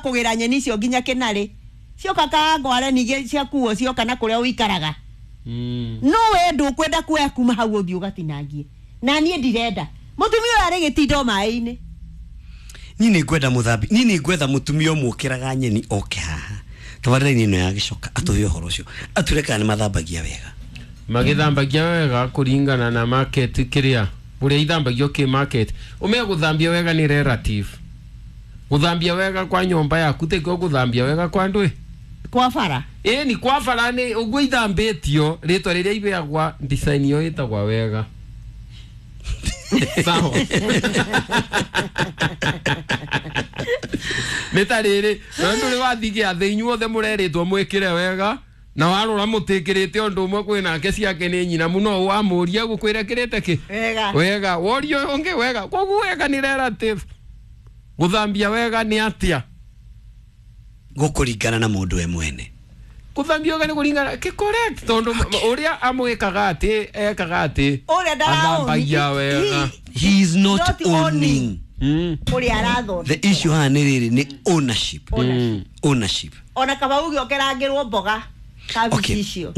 Kũgĩra nyeni icio nginya kĩnarĩ cioka kangware ningĩ ciakuo cioka na kũrĩa ũikaraga. No we ndũkwenda kuoya kuma hau ũthiĩ ũgatinangie na niĩ ndirenda mũtumia ũyũ arĩ gĩtindo maĩ-inĩ. Niĩ nĩ ngwenda mũthambi, niĩ nĩ ngwetha mũtumia ũmwe ũkĩraga nyeni oke haha tabarĩra-inĩ ĩno ya gĩcoka atũhe ũhoro ũcio, atwĩre kana nĩ mathambagia wega. Magĩthambagia wega kũringana na market kĩrĩa ũrĩa ithambagio kĩ market. Ũmenye gũthambia wega nĩ relative. Gũthambia wega kwa nyũmba yaku tĩkĩo gũthambia wega kwa ndũĩ kwa bara. Ĩni kwa bara nĩ ũguo ithambĩtio rĩtwa rĩrĩa ibeagwa design ĩyo ĩtagwa wega. Sawa, nĩ ta rĩrĩ na ndũrĩ wathiĩ gĩathĩ inyuothe mũrerĩtwo mwĩkĩre wega na warora mũtĩkĩrĩte ũndũ ũmwe kwĩ nake ciake nĩ nyina mũno wamũria gũkwĩra kĩrĩte kĩ wega. Wega woria ũyũ ũngĩ wega, koguo wega nĩ relative. Gũthambia wega nĩ atĩa? Gũkũringana na mũndũ we mwene. Gũthambia wega nĩ kũringana kĩ correct tondũ ũrĩa amwĩkaga atĩ ekaga atĩ ũrĩa athambagia wega. He is not, Not owning. Ũrĩa arathondeka. The issue haha nĩ rĩrĩ, nĩ ownership. Ownership. Ona kaba uge ũkerangĩrwo mboga kabici icio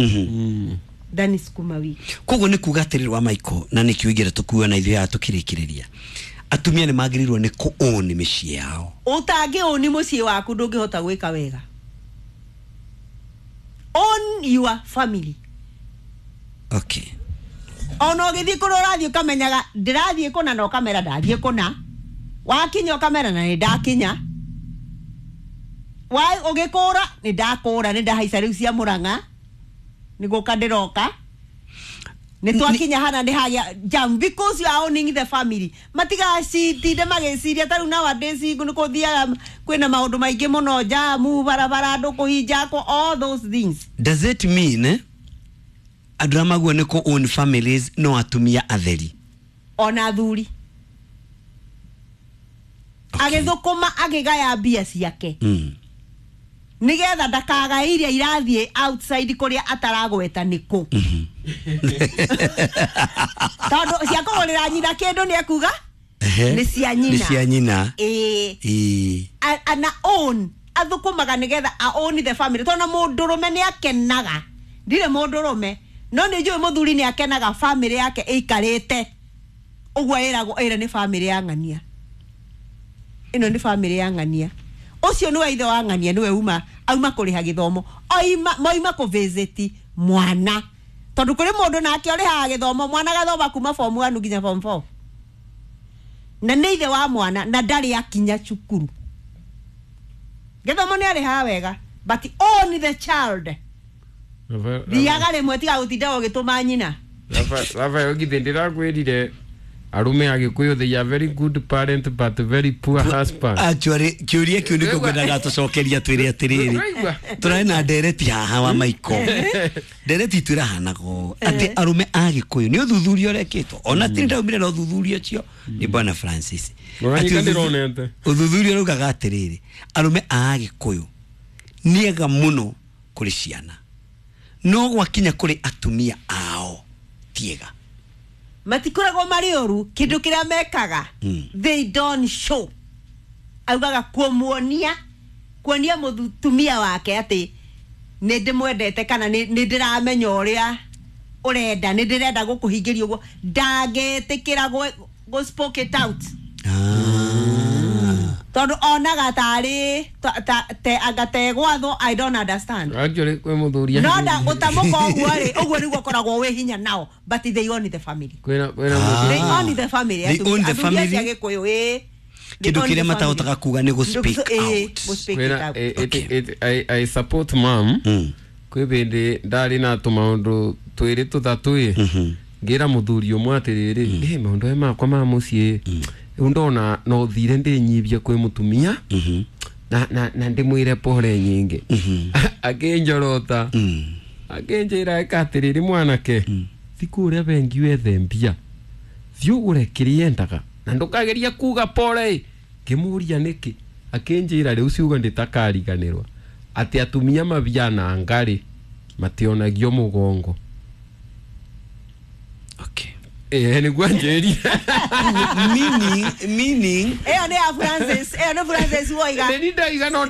than sukuma wiki. Koguo nĩ kuga atĩrĩrĩ wa Michael, na nĩkĩo ingĩenda tũkua na ithuĩ haha tũkĩrĩkĩrĩria, atumia nĩ magĩrĩirwo nĩ kũ own mĩciĩ yao. Ũtangĩũni mũciĩ waku ndũngĩhota gwĩka wega. Own your family. Ona ũgĩthiĩ kũrĩa ũrathiĩ ũkamenyaga ndĩrathiĩ kũna na ũkamera ndathiĩ kũna, wakinya ũkamera na nĩ ndakinya, wa ũgĩkũra nĩ ndakũra, nĩ ndahaica rĩu cia mũrang'a nĩ gũka ndĩroka nĩ twakinya hana nĩ hagĩa jam because you are owning the family. Matigacitinde magĩciria ta rĩu nowadays nĩ kũthiaga kwĩna maũndũ maingĩ mũno, jamu barabara, andũ kũhinjakwo, all those things. Does it mean andũ arĩa maguo nĩ kũ own families no atumia atheri? Ona athuri. Agĩthũkũma akĩgaya mbia ciake nigetha ndakagae iria irathiĩ outside kũrĩa ataragweta nĩkũ, tondũ cia kũgũrĩra nyina kĩndũ nĩ ekuga nĩ cia nyina. Nĩ cia nyina. Ĩĩ. Ĩĩ. Ana own athũkũmaga nigetha a own the family, tondũ mũndũrũme nĩ akenaga, ndirĩ mũndũrũme no nĩ njũĩ mũthuri nĩ akenaga family yake ĩikarĩte ũguo ĩragwo ĩrĩa nĩ family ya ng'ania, ĩno nĩ family ya ng'ania, ũcio nĩwe ithe wa ng'ania, nĩwe uma auma kũrĩha gĩthomo, oima moima kũ visit mwana, tondũ kũrĩ mũndũ nake ũrĩhaga gĩthomo mwana gathoma kuma form 1 nginya form 4 na nĩ ithe wa mwana na ndarĩ akinya cukuru. Gĩthomo nĩ arĩhaga wega but own the child. Thiaga rĩmwe tiga gũtinda ũgĩtũma nyina. Rafael githĩ ndĩrakwĩrire arume a Gĩkũyũ, they are very good parent but very poor husband. Actually kĩũria kĩu nĩkĩo ngwendaga tũcokeria twĩre atĩrĩrĩ. Ũraigua? Tũrarĩ na ndereti haha wa Michael, ndereti itũ ĩrahanaga ũũ atĩ arũme a Gĩkũyũ nĩ ũthuthuria ũrekĩtwo ona ti ndaumire na ũthuthuria ũcio nĩ bwana Francis. Ũranyita. Atĩ ndĩronete. Ũthuthuria ũraugaga atĩrĩrĩ, arũme a Gĩkũyũ nĩ ega mũno kũrĩ ciana no gwakinya kũrĩ atumia ao ti ega. Matikoragwo marĩ ũru, kĩndũ kĩrĩa mekaga they don't show, augaga kũmuonia kuonia mũtumia wake atĩ nĩ ndĩmwendete kana nĩ ndĩramenya ũrĩa ũrenda, nĩ ndĩrenda gũkũhingĩria ũguo, ndangĩtĩkĩra gũ spoke it out tondũ onaga tarĩ te anga tegwathwo. I don't understand. Actually kwĩ mũthuri no nda gũtamũka ũguo rĩ, ũguo nĩguo ũkoragwo wĩ hinya nao, but they own the family. Kwĩna mũthuri They own the family. They own the Athuri acio family. a Gĩkũyũ, ĩĩ. They Kĩndũ own kĩrĩa the family. matahotaga kuga nĩ gũ speak out. Gũ speak it kwĩna out. I support mom. Kwĩ bĩndĩ ndarĩ na tũmaũndũ twĩrĩ tũthatũ ĩ ngĩra mũthuri ũmwe atĩrĩrĩ, ĩ maũndũ aya makwa ma mũciĩ rĩu ndona no thire ndĩnyibie kwĩ mũtumia na ndĩmwĩre pore nyingĩ, akĩnjorota akĩnjĩra ĩka atĩrĩrĩ, mwanake thi kũrĩa bengi wethe mbia thiĩ ũgũre kĩrĩa endaga na ndũkageria kuga pore ĩ. Ngĩmũria nĩkĩ, akĩnjĩra rĩu ciugo ndĩtakariganĩrwa atĩ atumia mabiana ngarĩ mationagio mũgongo. Ĩĩ, nĩguo anjĩrire. Meaning Ĩyo nĩ ya Francis, ĩyo nĩ Francis woiga. Nĩ ndaiga no.